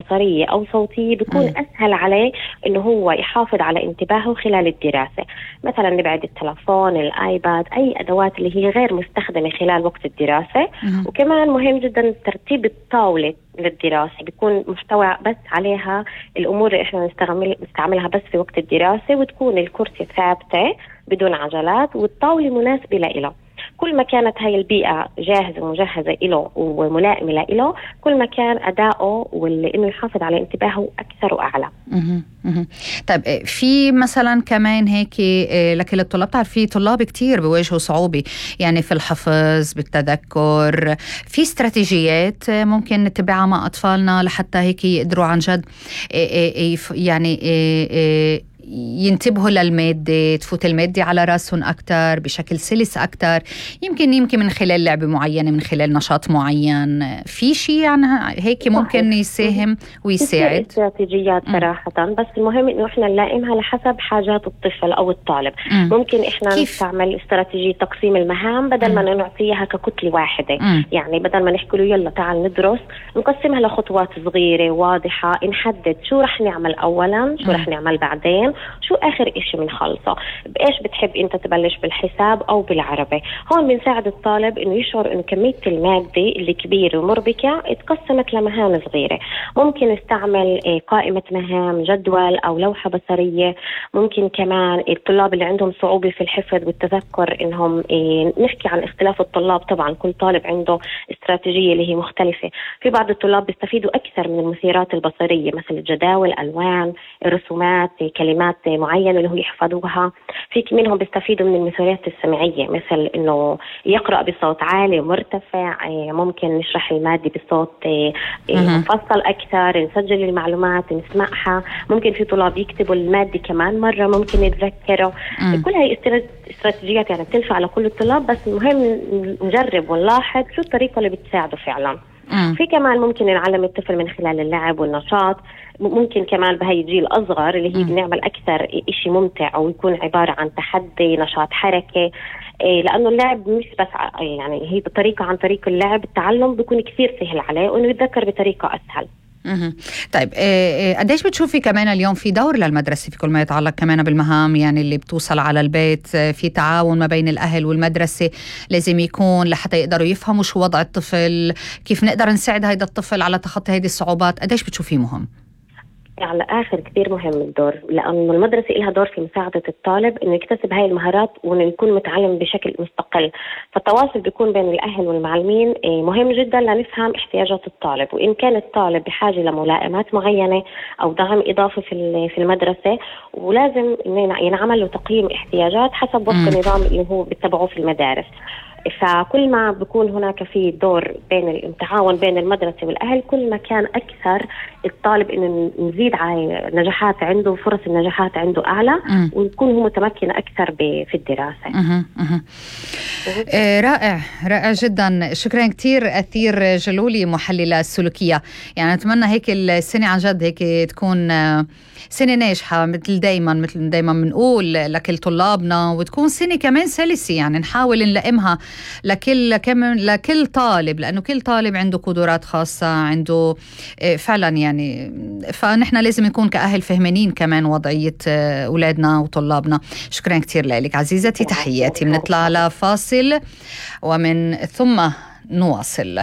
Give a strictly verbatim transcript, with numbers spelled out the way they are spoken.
بصرية أو صوتية بيكون م. أسهل عليه إنه هو يحافظ على انتباهه خلال الدراسة. مثلا نبعد التلفون، الآيباد، أي أدوات اللي هي غير مستخدمة خلال وقت الدراسة. م. وكمان مهم جدا ترتيب الطاولة للدراسة، بيكون محتوى بس عليها الأمور اللي إحنا نستعمل نستعملها بس في وقت الدراسة، وتكون الكرسي ثابتة بدون عجلات والطاولة مناسبة له. كل ما كانت هاي البيئة جاهزة ومجهزة له وملائمة له، كل ما كان أداؤه وإنه يحافظ على انتباهه أكثر وأعلى. طيب في مثلا كمان هيك لكل الطلاب، تعرف في طلاب كتير بيواجهوا صعوبة يعني في الحفظ بالتذكر، في استراتيجيات ممكن نتبعها مع أطفالنا لحتى هيك يقدروا عن جد يعني ينتبهوا للمادة، تفوت المادة على راسهم أكتر بشكل سلس أكتر، يمكن يمكن من خلال لعبة معينة، من خلال نشاط معين، في شيء عن هيك ممكن يساهم ويساعد؟ استراتيجيات صراحة، بس المهم إنه إحنا نلائمها لحسب حاجات الطفل أو الطالب. م. ممكن إحنا كيف؟ نستعمل استراتيجية تقسيم المهام بدل م. ما نعطيها ككتلة واحدة. م. يعني بدل ما نحكي له يلا تعال ندرس، نقسمها لخطوات صغيرة واضحة، نحدد شو رح نعمل أولا، شو م. رح نعمل بعدين، شو آخر إشي منخلصه، بإيش بتحب أنت تبلش بالحساب أو بالعربي. هون بنساعد الطالب إنه يشعر إنه كمية المادة اللي كبيرة ومربكة اتقسمت لمهام صغيرة. ممكن نستعمل قائمة مهام، جدول أو لوحة بصرية. ممكن كمان الطلاب اللي عندهم صعوبة في الحفظ والتذكر إنهم نحكي عن اختلاف الطلاب، طبعا كل طالب عنده استراتيجية اللي هي مختلفة. في بعض الطلاب بيستفيدوا أكثر من المثيرات البصرية، مثل الجداول، ألوان، الرسومات، كلمات معينة اللي هو يحفظوها. في منهم بيستفيدوا من المثيرات السمعية، مثل إنه يقرأ بصوت عالي ومرتفع. ممكن نشرح المادة بصوت مفصل أكثر، نسجل المعلومات نسمعها. ممكن في طلاب يكتبوا المادة كمان مرة ممكن يتذكروا. كل هاي استراتيجيات يعني بتنفع لكل الطلاب، بس المهم نجرب ونلاحظ شو الطريقة اللي بتساعده فعلا. مم. في كمان ممكن نعلم الطفل من خلال اللعب والنشاط. ممكن كمان بهاي الجيل الأصغر اللي هي مم. بنعمل أكثر إشي ممتع أو يكون عبارة عن تحدي، نشاط، حركة. إيه لأنه اللعب مش بس يعني هي بطريقة، عن طريق اللعب التعلم بيكون كثير سهل عليه وإنه يتذكر بطريقة أسهل. مه. طيب قديش بتشوفي كمان اليوم في دور للمدرسة في كل ما يتعلق كمان بالمهام يعني اللي بتوصل على البيت؟ في تعاون ما بين الأهل والمدرسة لازم يكون لحتى يقدروا يفهموا شو وضع الطفل، كيف نقدر نساعد هيدا الطفل على تخطي هيدي الصعوبات. قديش بتشوفيه مهم؟ على آخر كتير مهم الدور، لأنه المدرسة إلها دور في مساعدة الطالب إنه يكتسب هاي المهارات وإنه يكون متعلم بشكل مستقل. فالتواصل بيكون بين الأهل والمعلمين مهم جدا لنفهم احتياجات الطالب، وإن كان الطالب بحاجة لملائمات معينة أو دعم إضافي في في المدرسة، ولازم ينعمل له تقييم احتياجات حسب وفق النظام اللي هو بيتبعوه في المدارس. فكل ما بيكون هناك في دور بين التعاون بين المدرسة والأهل، كل ما كان أكثر الطالب إنه نزيد على نجاحات عنده، فرص النجاحات عنده أعلى، م. ويكون هو متمكن أكثر في الدراسة. م- م- آه رائع رائع جدا. شكرا كتير أثير جلولي، محللة السلوكية. يعني أتمنى هيك السنة عن جد هيك تكون سنة ناجحة مثل دايما مثل دايما بنقول لكل طلابنا، وتكون سنة كمان سلسة، يعني نحاول نلائمها لكل كمان لكل طالب، لأنه كل طالب عنده قدرات خاصة، عنده فعلا يعني، فنحن لازم نكون كأهل فهمانين كمان وضعية أولادنا وطلابنا. شكرا كتير لك عزيزتي، تحياتي. بنطلع على فاصل ومن ثم نواصل.